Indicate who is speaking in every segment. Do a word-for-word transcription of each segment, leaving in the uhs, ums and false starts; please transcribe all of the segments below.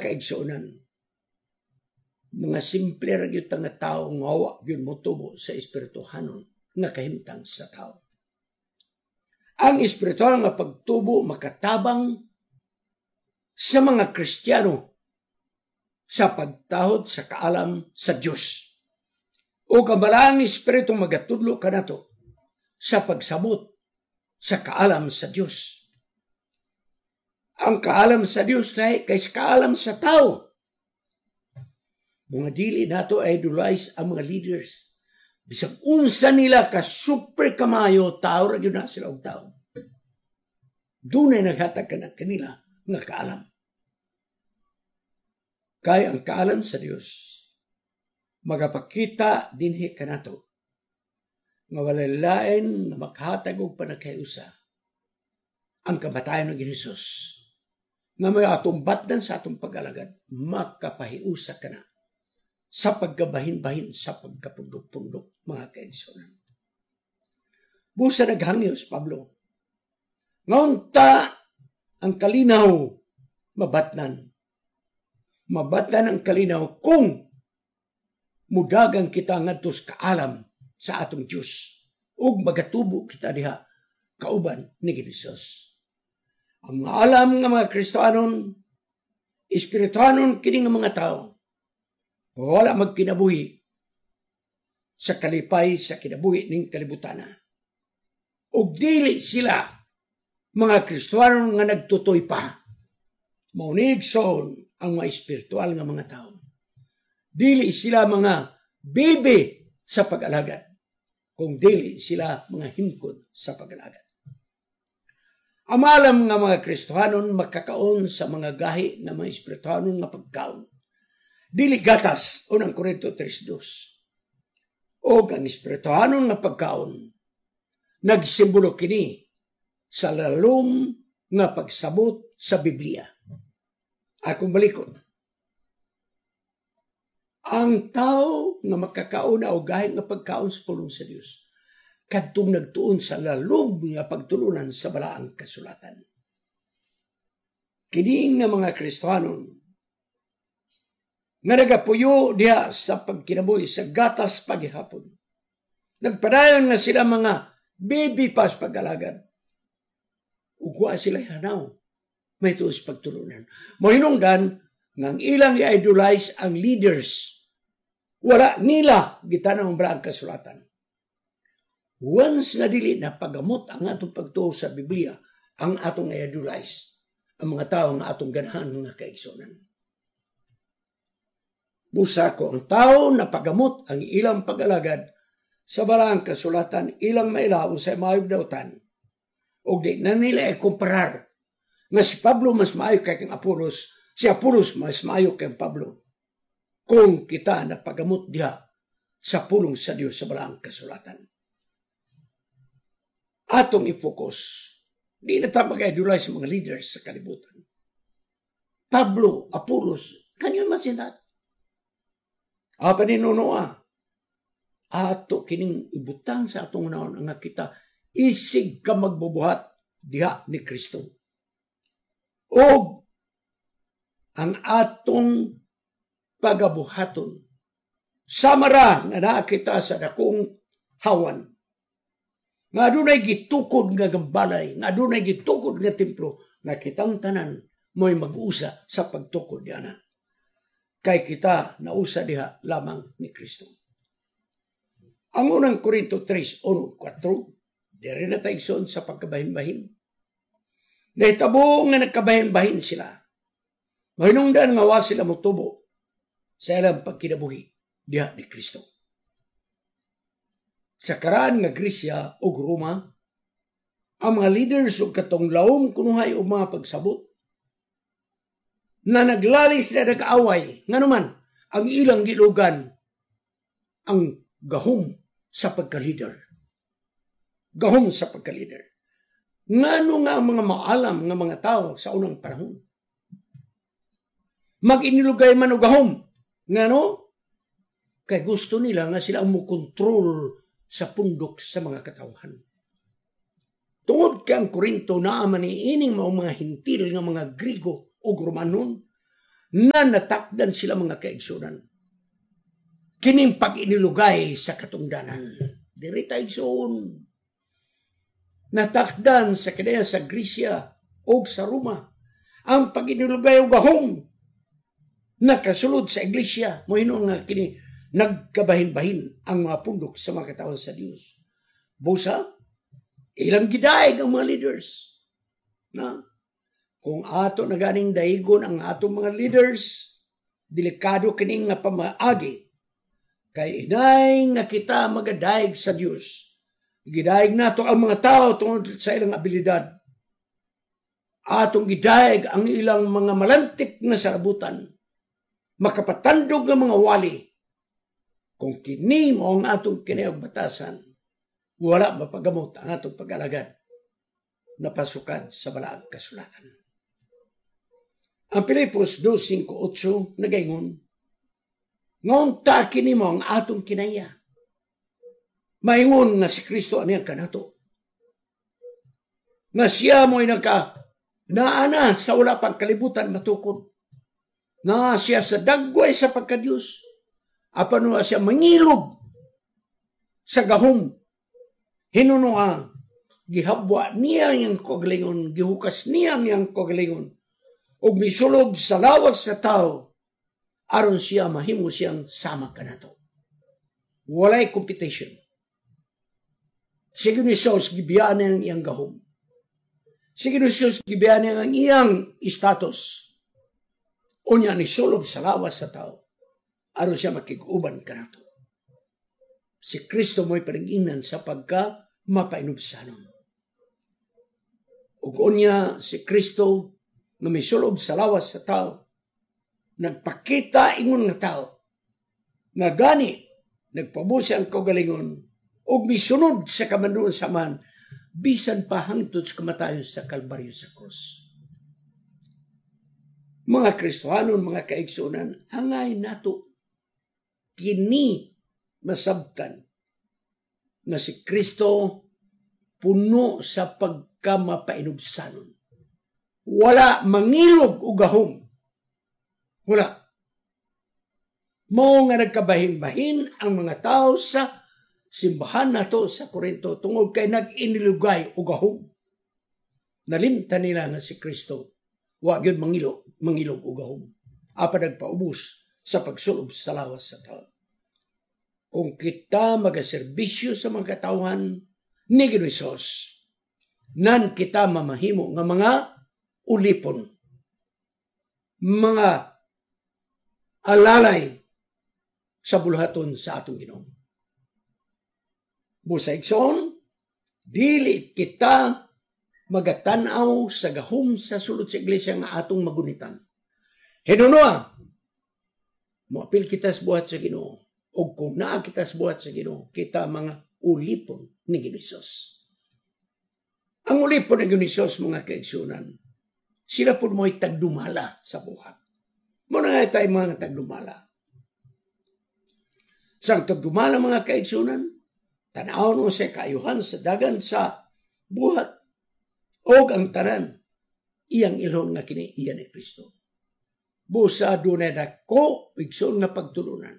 Speaker 1: kaigsuonan, mga simple ra gyud nga tao nga wa gyud motubo sa espirituhanon nga kahimtang sa tao. Ang espiritual nga pagtubo makatabang sa mga Kristiyano sa pagtahod sa kaalam sa Dios. O ang Balaang Espiritu magatudlo kanato sa pagsabot sa kaalam sa Dios. Ang kaalam sa Dios lahi kay sa kaalam sa tao. Mga dili nato idolize ang mga leaders. Bisag unsa nila ka super kamayo, tao ra gyud na sila og tao. Dunay naghatag kana kanila nga kaalam. Kay ang kaalam sa Dios magapakita dinhi kanato nga walay lain nga makahatag og panagkahiusa ang kamatayon ng Hesus nga may atong batdan sa atong pag-alagad, makapahiusa ka na sa pagkabahin-bahin, sa pagkapundok-pundok, mga kaigsuonan. Busa naghangyo si Pablo nga unta ang kalinaw mabatnan. Mabatnan ang kalinaw kung mudagang kita ngadto sa kaalam sa atong Dios ug magatubo kita diha kauban ni Jesus. Ang mga alam nga mga Kristohanon, espirituhanon kini nga mga tao, wala magkinabuhi sa kalipay sa kinabuhi ning kalibutana. Ug dili sila mga Kristohanon nga nagtutoy pa. Mao ni, igsoon, ang mga espiritual nga mga tao. Dili sila mga bibi sa pag-alagad, kung dili sila mga himkod sa pag-alagad. Ang nga mga Kristohanon makakaon sa mga gahi nga mga espirituhanon nga pagkaon. Dili gatas, Unang Korinto tres dos. O ang espirituhanon nga pagkaon, nagsimbolo kini sa lalom nga pagsabot sa Biblia. Akong balikon. Ang tao nga makakaon o gahi nga pagkaon sa pulong sa Dios, kadtong nagtuon sa lalom nga pagtulunan sa Balaang Kasulatan. Kini nga mga Kristohanon nga nagapuyo diha sa pagkinabuhi sa gatas paghihapon. Nagpadayon nga sila mga baby pa sa pag-alagad. Ug wa sila hanaw may tuos pagtulunan. Mohinungdan nga ang ilang i-idolize ang leaders. Wala nila gitanaw ang Balaang Kasulatan. Once nga dili na pagamot ang atong pagtuo sa Biblia, ang atong i-idolize ang mga tao nga atong ganahan, mga kaigsunan. Busa ko ang tao na pagamot ang ilang pag-alagad sa Balaang Kasulatan, ilang mailaw sa maayog dautan. O di na nila i-kumparar nga si Pablo mas maayo kay kang Apolos, si Apolos mas maayo kay Pablo. Kung kita na pagamot diha sa pulong sa Dios sa Balaang Kasulatan. Atong i-focus, di na ta mag-idolize sa mga leaders sa kalibutan. Pablo, Apolos, can you imagine that? Apa ni Nonoa? Ato kining ibutang sa atong naon nga kita isig ka magbubuhat diha ni Kristo. O ang atong pagabuhaton samara nga naa kita sa dakong hawan nga adunay gitukod nga gambalay, nga adunay gitukod nga templo, nga kitang tanan mo'y mag-usa sa pagtukod diana. Kay kita nausa diha lamang ni Kristo. Ang Unang Korinto tres, uno, kuwatro, diri na tayo sa pagkabahin-bahin. Nahitabo nga nagkabahin-bahin sila. Mahinungdan nga wa sila motubo sa ilang pagkinabuhi diha ni Kristo. Sa karaan nga Gresya ug Roma, ang mga leaders ug katong laom kunuhay og mga pagsabot na naglalis na nag-away, nganuman ang ilang gilugan ang gahom sa pagka-leader. Gahom sa pagka-leader. Ngano nga ang mga maalam nga mga tao sa unang panahon mag-inilugay man og gahom? Ngano? Kay gusto nila nga sila ang mokontrol sa pundok sa mga katawhan. Tungod kay ang Korinto naa man ining mao mga Hintil nga mga Grigo o Romanon, Na natakdan sila, mga kaigsunan. Kining pag-inilugay sa katungdanan. Diri ta, igsoon. Natakdan sa kinaya sa Grisya o sa Roma. Ang pag-inilugay og gahom nakasulod sa iglesia. Mo hinuon nga kini nagkabahin-bahin ang mga pundok sa mga katawhan sa Dios. Busa, ilang gidaig ang mga leaders. Na, kung ato na ganing daigon ang atong mga leaders, delikado kining nga pamaagi. Kay inay nga kita magadaig sa Dios. Gidaig nato ang mga tao tungod sa ilang abilidad. Atong gidaig ang ilang mga malantip nga sarabutan. Makapatandog nga mga wali. Kung kini mo ang atong kinayog batasan, wala mapagamot ang atong pag-alagad na pasukad sa balaang kasulatan. Ang Pilipos two five eight nagaingon, "Ngaunta kini mo ang atong kinaya. Maingon nga si Kristo ani ang kanato. Nga siya mo'y nagka naana sa wala pang kalibutan matukod. Na siya sa dagway sa pagkadiyos. Apan wa siya mangilog sa gahom. Hinunoa, gihabwa niya ang kagalingon, gihukas niya ang kagalingon, ug misulob sa lawas sa tao, aron siya mahimo siyang sama kanato." Walay competition. Sige ni Jesus, gibiyaan niya ang iyang gahom. Sige ni Jesus, gibiyaan niya ang iyang status. Unya ni sulob sa lawas sa tao, aron siya makig-uban kanato. Si Kristo mo'y panag-ingnan sa pagka mapainubsanon. Ug unya si Kristo nga misulob sa lawas sa tao, nagpakita ingon nga tao, nga gani nagpabusi ang kaugalingon ug misunod sa kamanduan sa Amahan bisan pa hangtod sa kamatayon sa Kalbaryo sa krus. Mga Kristohanon, mga kaigsunan, angay nato kini masabtan na si Kristo puno sa pagkamapainubsanon. Wala mangilog o gahom. Wala. Mao nga nagkabahin-bahin ang mga tao sa simbahan nato sa Korinto tungod kay nag-inilugay o gahom. Nalimtan nila nga si Kristo wa gyud mangilo, mangilog o gahom. Apan nagpaubos sa pagsulob sa lawas sa tao. Kung kita magaserbisyo sa mga katawhan ni Ginoong, nan kita mamahimo nga mga ulipon, mga alalay sa buluhaton sa atong Ginoo. Busa, igsoon, dili kita magatanaw sa gahom sa sulod sa iglesia nga atong magunitan. Hinunoa, moapil kita sa buhat sa Ginoo. O kung naa kita sa buhat sa Ginoo, kita mga ulipon ni Ginoo. Ang ulipon ni Ginoo, mga kaigsunan, sila po mo'y tagdumala sa buhat. Muna nga tayo mga tagdumala. Sa tagdumala, mga kaigsunan, tanaw no sa kaayuhan sa dagan sa buhat o ang tanan iyang ilhon nga kini iya ni Kristo. Busa dunay dako, igsoon, nga pagtulunan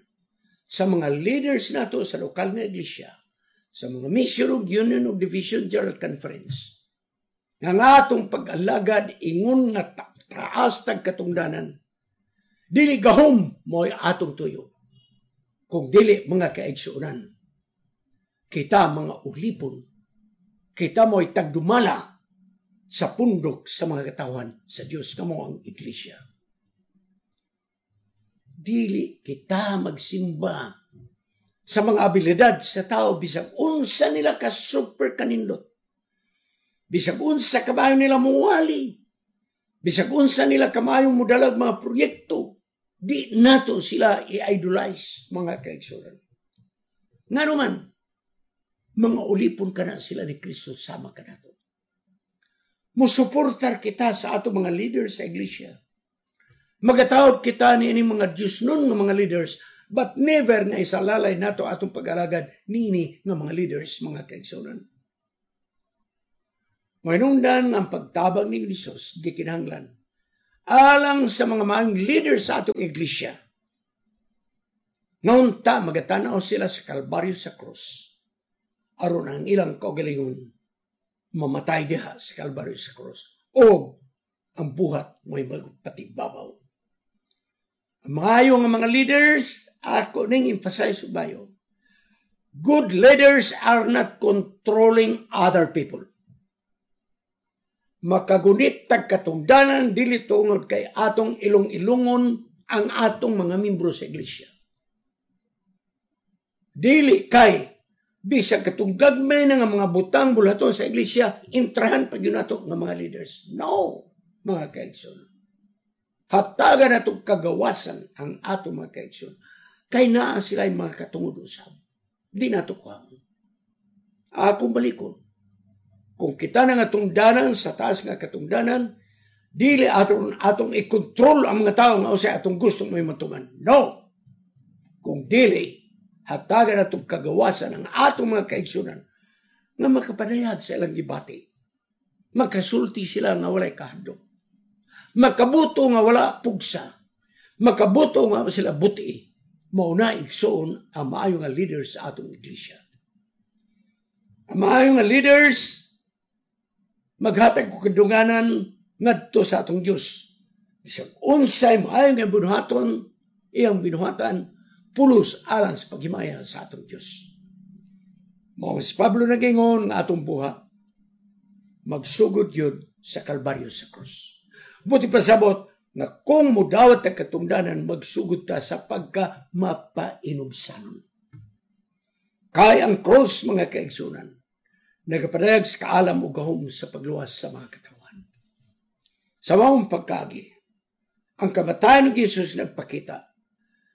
Speaker 1: sa mga leaders nato sa lokal nga iglesia, sa mga mission ug union ug division general conference. Nga nga atong pag-alagad ingon nga ta- taas tag katungdanan, dili gahom mo'y atong tuyo. Kung dili, mga kaigsuonan, kita mga ulipon, kita mo'y tagdumala sa pundok sa mga katawan sa Diyos nga mao ang iglesia. Dili kita magsimba sa mga abilidad sa tao bisag unsa nila ka super kanindot. Bisag unsa kamayo nila muwali. Bisag unsa nila kamayo mudalag mga proyekto. Di nato sila i-idolize, mga kaigsuonan. Ngano man, mga ulipon kana sila ni Kristo sama kanato. Musuportar kita sa ato mga leaders sa iglesia. Magatawag kita ni ini mga Diyos nun nga mga leaders, but never nga isalalay nato atong pag-alagad nini nga mga leaders, mga kaigsuonan. Mahinungdan ang pagtabang ni Jesus gikinahanglan. Alang sa mga maayong leader sa atong iglesia, ngaunta magatanaw sila sa Kalbaryo sa krus. Aron ang ilang kaugalingon mamatay diha sa Kalbaryo sa krus. O ang buhat mo'y magpatibabaw. Ang maayo nga mga leaders, ako ning emphasize bayo. Good leaders are not controlling other people. Makagunit tag katungdanan dili tungod kay atong ilong-ilungon ang atong mga membro sa iglesia. Dili kay bisag katong gagmay na nga mga butang bulaton sa iglesia, intrahan pa gyud nato nga mga leaders. No, mga kaigsoon. Hatagan nato kagawasan ang ato mga kaigsoon. Kay naa sila mga katungod usab. Di nato kuhaon. Akong balikon. Kung kita na nga tungdanan sa taas nga katungdanan, dili atong atong i-control ang mga tao nga unsay atong gusto mo matuman. No. Kung dili hatagan atong kagawasan ang atong mga kaigsunan nga makapadayag sa ilang gibati. Makasulti sila nga walay kahadlok. Makabuto nga wala pugsa. Makabuto nga sila buti. Mao na igsoon ang maayo nga leaders sa atong iglesia. Ang maayo nga leaders maghatag og kadunganan ngadto sa atong Dios. Bisag unsay maayo nga binuhaton, iyang binuhatan pulos alang sa paghimaya sa atong Dios. Mao si Pablo nagingon nga atong buhat magsugod yun sa Kalbaryo sa krus. Buti pasabot nga kung mudawat ang katungdanan magsugod ta sa pagka mapainubsanon. Kay ang cross mga kaigsunan, nagapadayag sa kaalam o gahom sa pagluwas sa mga katawan. Sa maong pagkagi, ang kamatayan ni Jesus nagpakita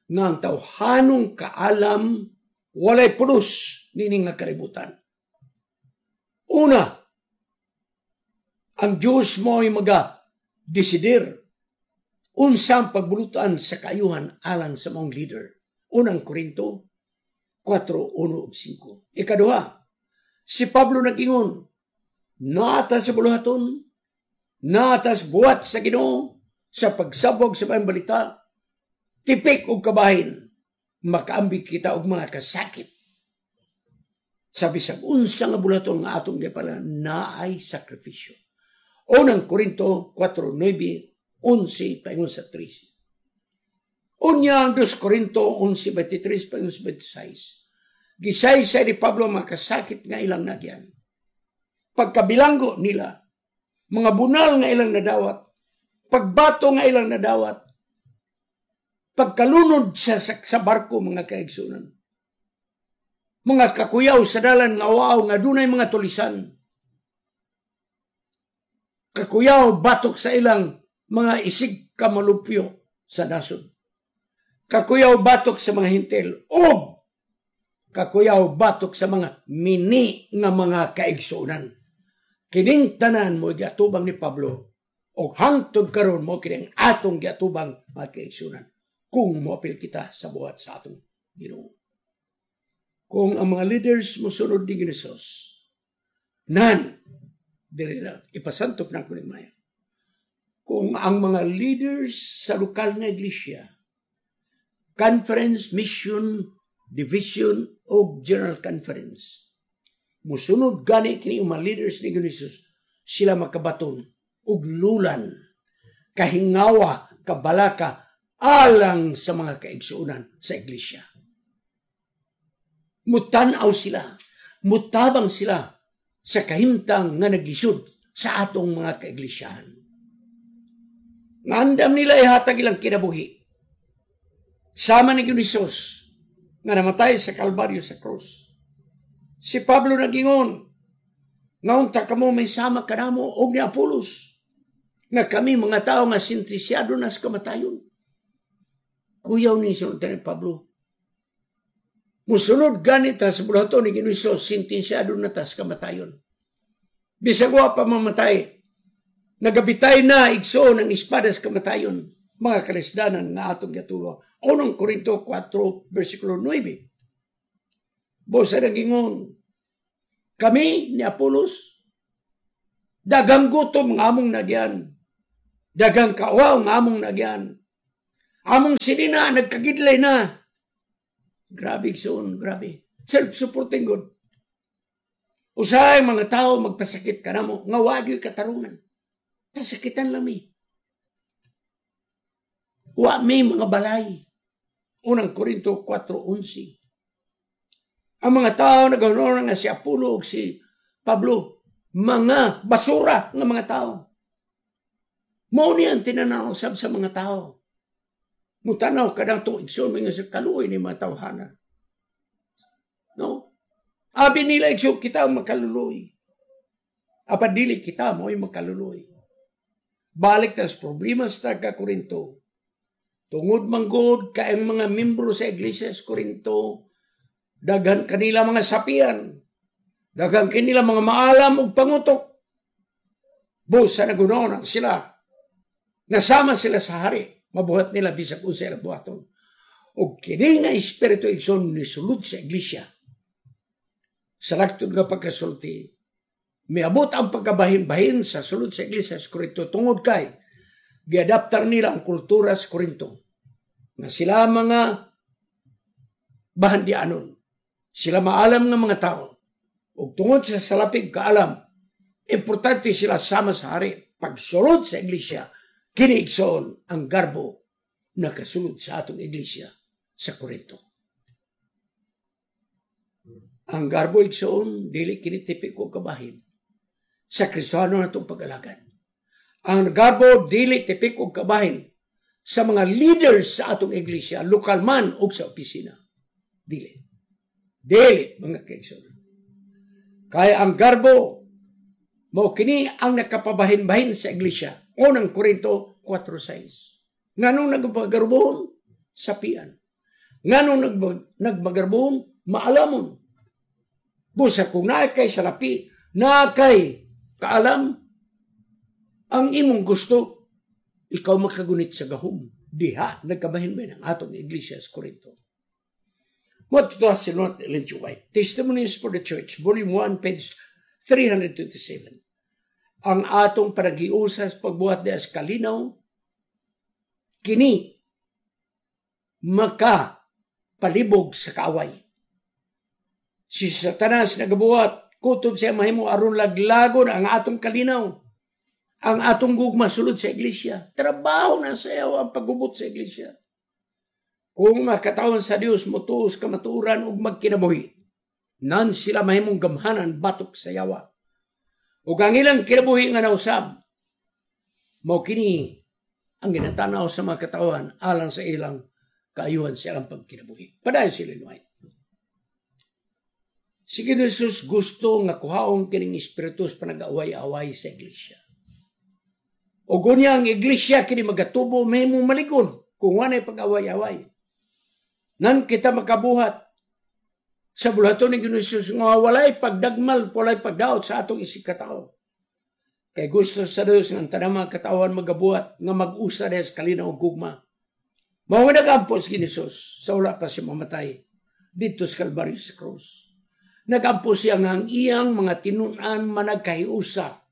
Speaker 1: nga ang tawhanong kaalam walay pulos nining nga kalibutan. Una, ang Diyos mo ay maga desidir unsang pagbulutan sa kaayuhan alang sa maong leader. Unang Korinto kwatro, uno ug singko. Ikaduha, si Pablo nag-ingon, naata sa buluhaton, naata sa buhat sa Ginoo, sa pagsabog sa maayong balita, tipik og kabahin, makaambig kita og mga kasakit. Sa bisag unsa nga buluhaton nga atong gipala, naay sakripisyo. Unang Korinto kwatro, nuebe, onse, paingon sa trese. Unya ang dos Korinto onse, veintitrés, paingon sa veintiséis. Gisaysay ni Pablo makasakit nga ilang nagyan. Pagkabilanggo nila, mga bunal nga ilang nadawat, pagbato nga ilang nadawat, pagkalunod sa, sa, sa barko mga kaigsunan, mga kakuyaw sa dalan nga waaw nga dunay mga tulisan, kakuyaw batok sa ilang mga isig kamalupyo sa nasod, kakuyaw batok sa mga hintel, og kakuyaw batok sa mga mini nga mga kaigsunan. Kining tanan mo giatubang ni Pablo og hangtod karon mo kining atong giatubang mga kaigsunan kung moapil kita sa buhat sa atong Ginoo. Kung ang mga leaders mosunod ni Jesus, nan diri na ipasantop na ko ni Maya. Kung ang mga leaders sa lokal nga iglesia, conference, mission, division o general conference, musunod gani kini mga leaders ni Jesus, sila makabaton og lulan, kahingawa, kabalaka alang sa mga kaigsuonan sa iglesia. Mutan-aw sila, mutabang sila sa kahimtang nga naglisod sa atong mga kaiglisyahan. Ngandam nila ihatag ilang kinabuhi. Sama ni Jesus nga namatay sa Kalbaryo sa krus. Si Pablo nagingon, ngaunta kamo may sama kanamo og ni Apolos, nga kami mga tao nga sintisyado na sa kamatayon. Kuyaw ni sinunod ni Pablo. Musunod ganita sa bulaton ni Ginuso, sintinsyado na ta sa kamatayon. Bisag wa pa mamatay, nagabitay na igsoon ang espada sa kamatayon, mga kalisdanan nga atong gatuwa. Unang Korinto kwatro, versikulo nuebe. Bosa nagingon, kami ni Apolos, dagang gutom nga among nagyan, Daghang kauwaw nga among nagyan. Among sinina, nagkagidlay na. Grabe, igsoon, grabe. Self-supporting God. Usahay mga tao magpasakit ka namo, nga wagyo'y katarungan. Pasakitan lang mi. Wa mi mga balay. Unang Korinto kwatro onse. Ang mga tao nagahunahuna nga si Apollo ug si Pablo, mga basura nga mga tao. Mao ni ang tinanaw sab sa mga tao. Mutanaw kadang to, igsoon, mga sa kaluoy ni mga tawhana. No? Abi nila, igsoon, kita ang makaluluoy. Apan dili kita mo ay makaluluoy. Balik tas problema sa taga Korinto. Tungod manggod kay ang mga membro sa Iglesia sa Korinto, daghan kanila mga sapian, daghan kanila mga maalam ug pangutok. Busa nagunaw sila. Nasama sila sa hari. Mabuhat nila bisag unsa ilang buhaton. Ug kini nga espiritu, igsoon, nisulod sa iglesia. Sa laktod nga pagkasulti, miabot ang pagkabahin-bahin sa sulod sa iglesia sa Korinto tungod kay giadaptar nila ang kultura sa Korinto. Nga sila mga bahandianon. Sila maalam ng mga tao. Ug tungod sa salapig kaalam, importante sila sama sa hari. Pagsulod sa iglesia, kini, igsoon, ang garbo nakasulod sa atong iglesia sa Korinto. Ang garbo, igsoon, dili kini tipiko kabahin sa Kristiyano natong pag-alagad. Ang garbo dili tipiko kabahin sa mga leaders sa atong iglesia, lokal man o sa opisina. Dili. Dili, mga kaigsoon. Kaya ang garbo, mao kini ang nakapabahin-bahin sa iglesia. Unang Korinto kwatro sais. Nganong nagmagarbon? Sapian. Nganong nagmagarbon? Maalamon. Busa kung naa kay salapi, naa kay kaalam, ang imong gusto, ikaw makagunit sa gahom. Diha, nagkabahin-bahin ang atong iglesia sa Korinto. Mao to si Lot Ellen G. White. Testimonies for the Church, Volume one, page three hundred twenty-seven. Ang atong panagiusas pagbuhat diha sa kalinaw, kini maka palibog sa kaaway. Si Satanas nagabuhat, kutob siya mahimo aron laglagon ang atong kalinaw. Ang atong gugma sulod sa iglesia. Trabaho na sa iyo ang paggubot sa iglesia. Kung makatawan sa Dios motuos kamatuoran ug magkinabuhi, nan sila mahimong gamhanan batok sa yawa. Ug ang ilang kinabuhi nga nausab, mao kini ang ginatanaw sa mga katawan alang sa ilang kaayuhan sa ilang pagkinabuhi. Padayon si Ellen White. Si Jesus gusto nga kuhaon kining espiritu sa panag-away-away sa iglesia. O gunya ang iglesia kini magatubo mahimong maligon kung walay pag-away-away. Nan kita makabuhat sa buluhaton ni Jesus nga walay pagdagmal, walay pagdaot sa atong isigkatao. Kay gusto sa Dios nga ang tanang mga katawan magabuhat nga mag-usa sa kalinaw ug gugma. Mao nga nagampo si Jesus sa wala pa siya mamatay didto sa Kalbaryo sa krus. Nagampo siya nga ang iyang mga tinun-an managkahiusa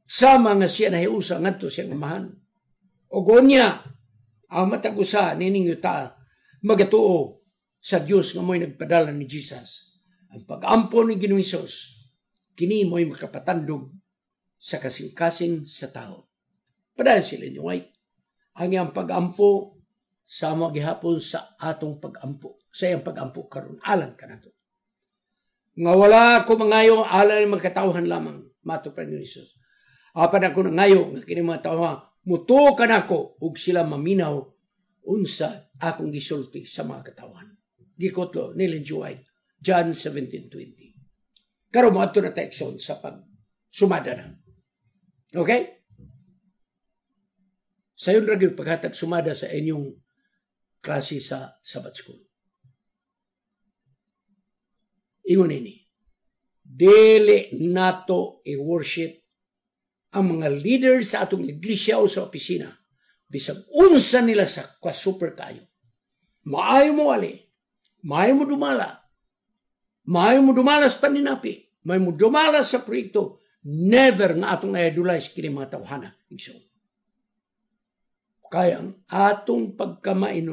Speaker 1: sama nga siya nahiusa ngadto siyang Amahan. O gunya, ang matag usa nining yuta magatuo sa Dios nga mo'y nagpadala ni Jesus. Ang pag-ampo ni Ginoong Hesus, kini mo'y makapatandog sa kasing-kasing sa tao. Padayon si Ellen White. Ang iyang pag-ampo sama gihapon sa atong pag-ampo. Sa iyang pag-ampo karon alang kanato. Nga wala ko mangayo alang ni magkatawhan lamang mato pa ni Jesus. Apan ako nangayo nga kini mga tawhan mutuo kanako ug sila maminaw unsa akong gisulti sa mga katawhan. Gikutlo ni Ellen G. White, John seventeen twenty. Karon moadto na ta, igsoon, sa pag sumada na. Okay? Sayon ra gyud paghatag sumada sa inyong klase sa Sabbath School. Ingon ini, dili nato i-worship ang mga leaders sa atong iglesia o sa opisina. Bisag unsa nila sa ka-super kayo. Maayo mo ali, maayo mo dumala, maayo mo dumala sa paninapi, maayo mo dumala sa proyekto, never nga atong idolize kini mga tawhana. Igsoon. Kay ang atong pagkamainon